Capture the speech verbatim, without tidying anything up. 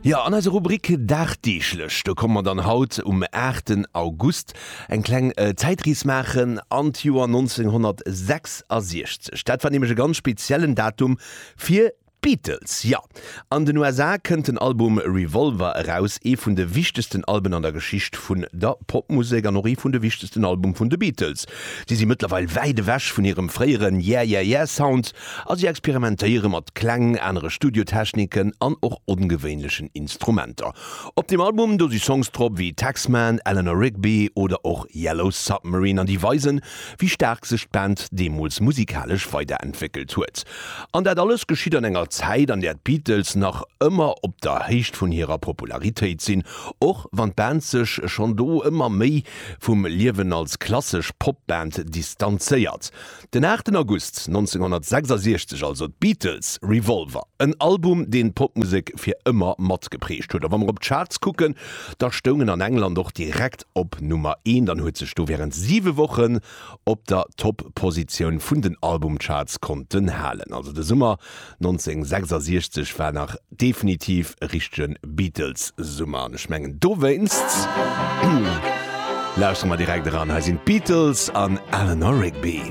Jo, an eiser Rubrik Dagdeeglech, do komme mer dann haut um aachten August eng kleng Zäitrees maachen an d'Joer nonzénghonnertsechsasiechzeg. Dat war nämlech e ganz speziellen Datum fir D'Beatles, jo! An den U S A kënnt den Album Revolver eraus, ee vun de wichtegsten Alben an der Geschicht vun der Popmusek an och ee vun de wichtegsten Album vun de Beatles. Si si mëttlerweil wäit ewech vun hirem fréieren Yeah Yeah Yeah Sound a si experimentéiere mat Kläng, anere Studiotechniken an och ongewéinlechen Instrumenter. Op deem Album do si Songs drop wéi Taxman, Eleanor Rigby oder och Yellow Submarine an déi weisen, wéi staark sech d'Band deemools musikalesch weiderentwéckelt huet. An dat alles geschitt an enger Zäit, an där d'Beatles nach ëmmer op der Héicht vun hirer Popularitéit sinn, och wann d'Band sech schonn do ëmmer méi vum Liewen als klassesch Popband distanzéiert. Den aachten August nonzénghonnertsechsasiechzeg also, d'Beatles, Revolver, en Album, deen d'Popmusek fir ëmmer matgeprägt huet. A wa mer op d'Charts kucken, da stoung en an England och direkt op Nummer eent an huet sech do wärend siwe Wochen op der Top-Positioun vun den Albumcharts konnten halen. Also de Summer nonzénghonnertsechsasiechzeg war nach definitiv e richtege Beatles-Summer an ech mengen dowéinst lauschtere mer direkt eran. Hei sinn d'Beatles an Eleanor Rigby.